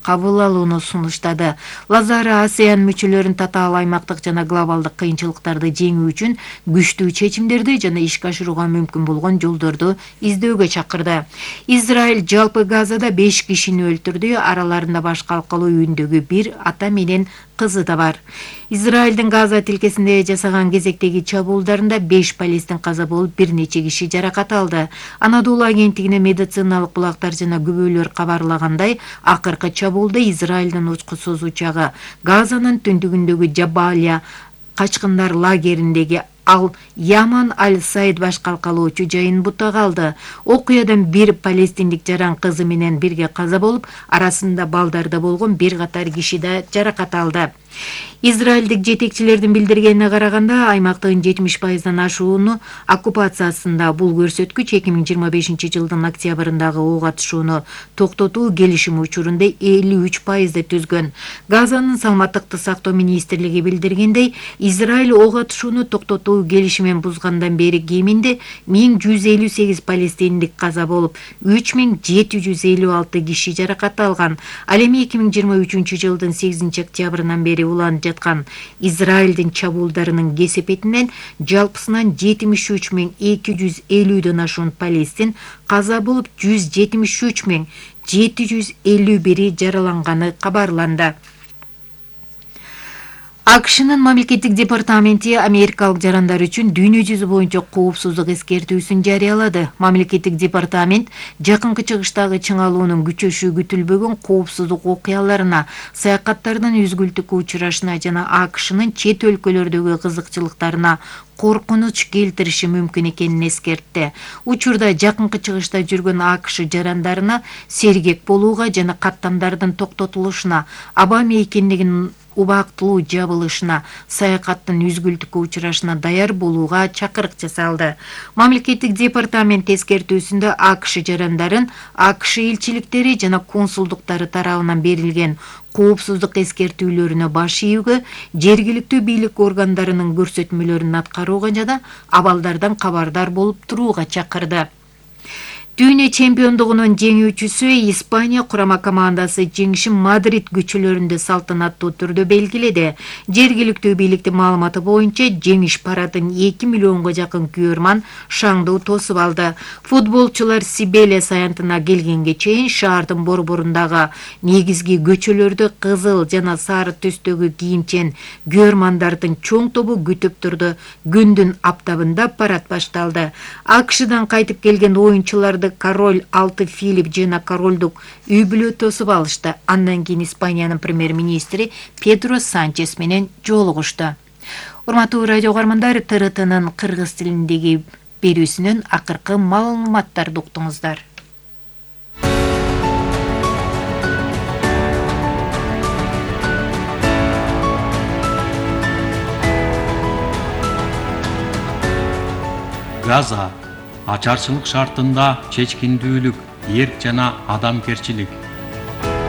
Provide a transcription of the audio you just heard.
кабыл алууну сунуштады. Лазара АСЕАН мүчөлөрүн татаал аймактык жана глобалдык кыйынчылыктарды жеңүү үчүн күчтүү чечимдерди жана ишке ашырууга мүмкүн болгон жолдорду издөөгө чакырды. Израиль жалпы Газада 5 кишини өлтүрдү, араларында баш калкалуу үйүндөгү бир ата менен кызы да бар. Израилдин Газа тилкесинде жасаган кезектеги чабуулдарында 5 палестин каза болуп, бир нече киши жаракат алды. Анадолу агенттигине медициналык булактар жана күбөлөр кабарлагандай, акыркы чабуулда Израилдин учкусуз учагы Газанын түндүгүндөгү Жабалия качкындар лагериндеги Яман Аль-Сайд баш калкалоочу жайын бутага алды. Окуядан бир палестиндик жаран кызы менен бирге каза болуп, арасында балдарда болгон бир катар киши да жаракат алды. Израилдик жетекчилердин билдиргенине караганда, аймактын 70%дан ашууну оккупациясында. Бул көрсөткүч 2025 жылдын октябрындагы ок атышууну токтотуу келишими учурунда 53%ды түзгөн. Газанын саламаттыкты сактоо министрлиги билдиргендей, Израиль ок атышууну токтотуу келишимин бузгандан бери кеминде 1158 палестиндик каза болуп, 3756 киши жаракат алган. Ал эми 2023 жылдын 8 октябрынан бери уланып жаткан Израилдин чабуулдарынын кесепетинен жалпысынан 73250дөн ашуун палестин каза болуп, 173751 жараланганы кабарланды. АКШнын мамлекеттик департаменти америкалык жарандар үчүн дүйнө жүзү боюнча коопсуздук эскертүүсүн жарыялады. Мамлекеттик департамент жакынкы чыгыштагы чыңалуунун күчөшү күтүлбөгөн коопсуздук окуяларына, саякаттардын үзгүлтүккө учурашына жана АКШнын чет өлкөлөрдөгү кызыкчылыктарына коркунуч келтириши мүмкүн экенин эскертти. Учурда жакынкы чыгышта жүргөн АКШ жарандарына сергек болууга жана каттамдардын токтотулушуна, аба мейкиндигинин убактылуу жабылышына, саякаттын үзгүлтүккө учурашына даяр болууга чакырык жасалды. Мамлекеттик департамент эскертүүсүндө АКШ жарандарын АКШ элчиликтери жана консулдуктары тарабынан берилген коопсуздук эскертүүлөрүнө баш ийүүгө, жергиликтүү бийлик органдарынын көрсөтмөлөрүн аткарууга жана абалдардан кабардар болуп турууга чакырды. Дүйнө чемпиондугунун жеңүүчүсү Испания курама командасы жеңишин Мадрид көчөлөрүндө салтанаттуу түрдө белгиледи. Жергиликтүү бийликтин маалыматы боюнча, жеңиш парадын 2 миллионго жакын күйөрман шаңдуу тосуп алды. Футболчулар Сибелес аянтына келгенге чейин шаардын борборундагы негизги көчөлөрдө кызыл жана сары түстөгү кийимчен күйөрмандардын чоң тобу күтүп турду. Күндүн аптабында парад башталды. АКШдан кайтып келген оюнчуларды король 6 Филипп жана королдук үй бүлө тосуп алышты. Андан кийин Испаниянын премьер-министри Педро Санчес менен жолугушту. Урматтуу радио угармандар, ТРТнын кыргыз тилиндеги берүүсүнөн акыркы маалыматтарды уктуңуздар. Газа ачарчылык шартында чечкиндүүлүк, эрк жана адамгерчилик